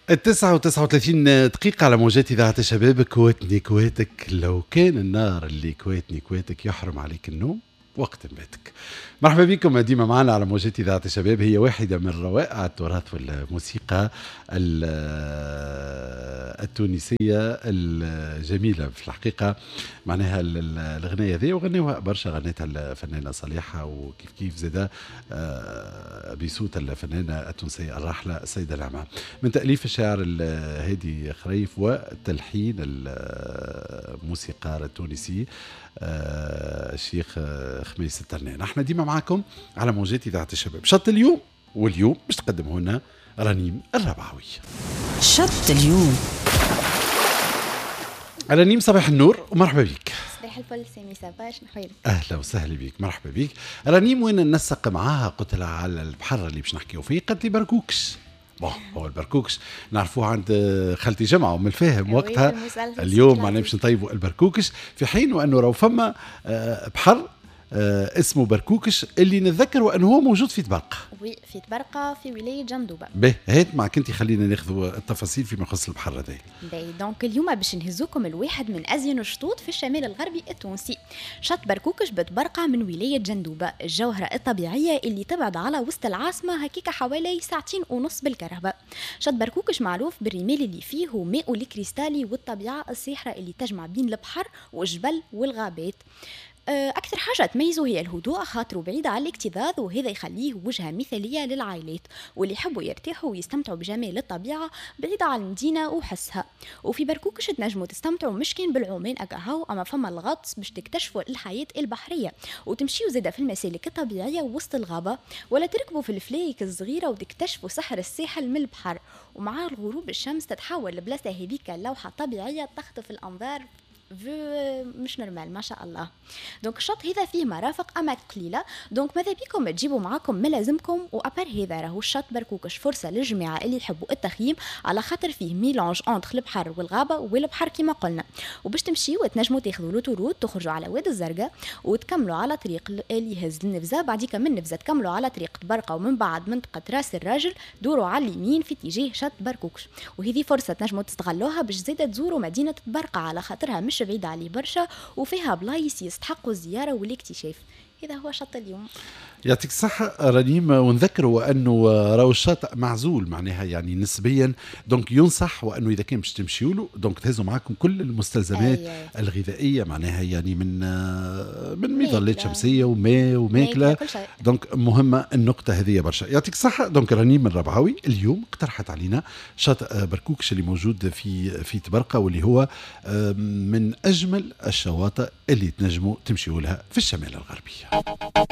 9:39 على موجات إذاعة الشباب. كواتني كواتك، لو كان النار اللي كواتني كواتك يحرم عليك النوم وقت نباتك. مرحبا بكم ديما معنا على موجات إذاعة الشباب. هي واحدة من روائع التراث والموسيقى التونسية الجميلة في الحقيقة، معناها الغناية ذي وغنوها برشا، غنتها الفنانة صليحة وكيف كيف زادا بصوت الفنانة التونسية الراحلة السيدة نعمة، من تأليف الشاعر الهادي خريف وتلحين الموسيقار التونسي الشيخ خميس الترنان. احنا ديما معاكم على موجات إذاعة الشباب. شط اليوم، واليوم باش تقدمه لنا رنيم الربعوي. شط اليوم. رنيم صباح النور ومرحبا بك. صباح الفل سامي، ça va شنحوالك؟ اهلا وسهلا بك، مرحبا بك. رنيم وين ننسق معاها؟ قلت لها على البحر اللي باش نحكيو فيه، قالت لي بركوكش. bon هو البركوكش نعرفوه عند خالتي جمعة ومن الفاهم وقتها. اليوم معناها باش نطيبوا البركوكش، في حين وانه راهو فما بحر اسمه بركوكش اللي نتذكر انه هو موجود في طبرقة. oui، في طبرقة في ولاية جندوبة. باهي، هات معك انت، خلينا ناخذ التفاصيل فيما يخص البحر هذا. باهي، donc اليوم باش نهزوكم الواحد من ازين الشطوط في الشمال الغربي التونسي، شط بركوكش بطبرقة من ولاية جندوبة، الجوهرة الطبيعية اللي تبعد على وسط العاصمة هكيكا حوالي 2.5 ساعة بالكرهبة. شط بركوكش معروف بالرمال اللي فيه وماء الكريستالي والطبيعة الساحرة اللي تجمع بين البحر والجبل والغابات. أكثر حاجة تميزه هي الهدوء، خاطره بعيد على الاكتظاظ، وهذا يخليه وجهة مثالية للعائلات واللي يحبوا يرتاحوا ويستمتعوا بجمال الطبيعة بعيدة عن المدينة وحسها. وفي بركوكش تنجموا تستمتعوا مش كان بالعومان أكاهو، أما فما الغطس باش تكتشفوا الحياة البحرية وتمشيوا زادة في المسالك الطبيعية وسط الغابة، ولا تركبوا في الفلايك الصغيرة وتكتشفوا سحر الساحل من البحر. ومع الغروب الشمس تتحول لبلاصة هذيك لوحة طبيعية تخطف الأنظار، vue مش normal ما شاء الله. donc الشط هذا فيه مرافق اما قليله، donc ماذا بيكم تجيبوا معاكم ملازمكم. و à part هذا راهو الشط بركوكش فرصة للجماعة اللي يحبوا التخييم، على خاطر فيه mélange entre البحر والغابه والبحر كما قلنا. وباش تمشيو تنجموا تاخذوا l'autoroute تخرجوا على واد الزرقاء وتكملوا على طريق اللي يهز النفزه، بعديك من النفزه تكملوا على طريق طبرقه، ومن بعد منطقة راس الراجل دوروا على اليمين في اتجاه شط بركوكش. وهذه فرصة تنجموا تستغلوها باش زاده تزوروا مدينة طبرقه، على خاطرها مش بعيدة عليه برشا وفيها بلايص يستحقوا الزيارة والاكتشاف. هذا هو شط اليوم. يعطيك الصحة رنيم، ونذكروا أنه راهو الشاطئ معزول معناها يعني نسبيا، donc ينصح وأنه إذا كان باش تمشيوا له donc تهزوا معاكم كل المستلزمات الغذائية، معناها يعني من مظلات شمسية وماء وماكلة، donc مهمة النقطة هذه برشا. يعطيك الصحة. donc رنيم الربعاوي اليوم اقترحت علينا شاطئ بركوكش اللي موجود في طبرقة، واللي هو من أجمل الشواطئ اللي تنجموا تمشيوا لها في الشمال الغربي.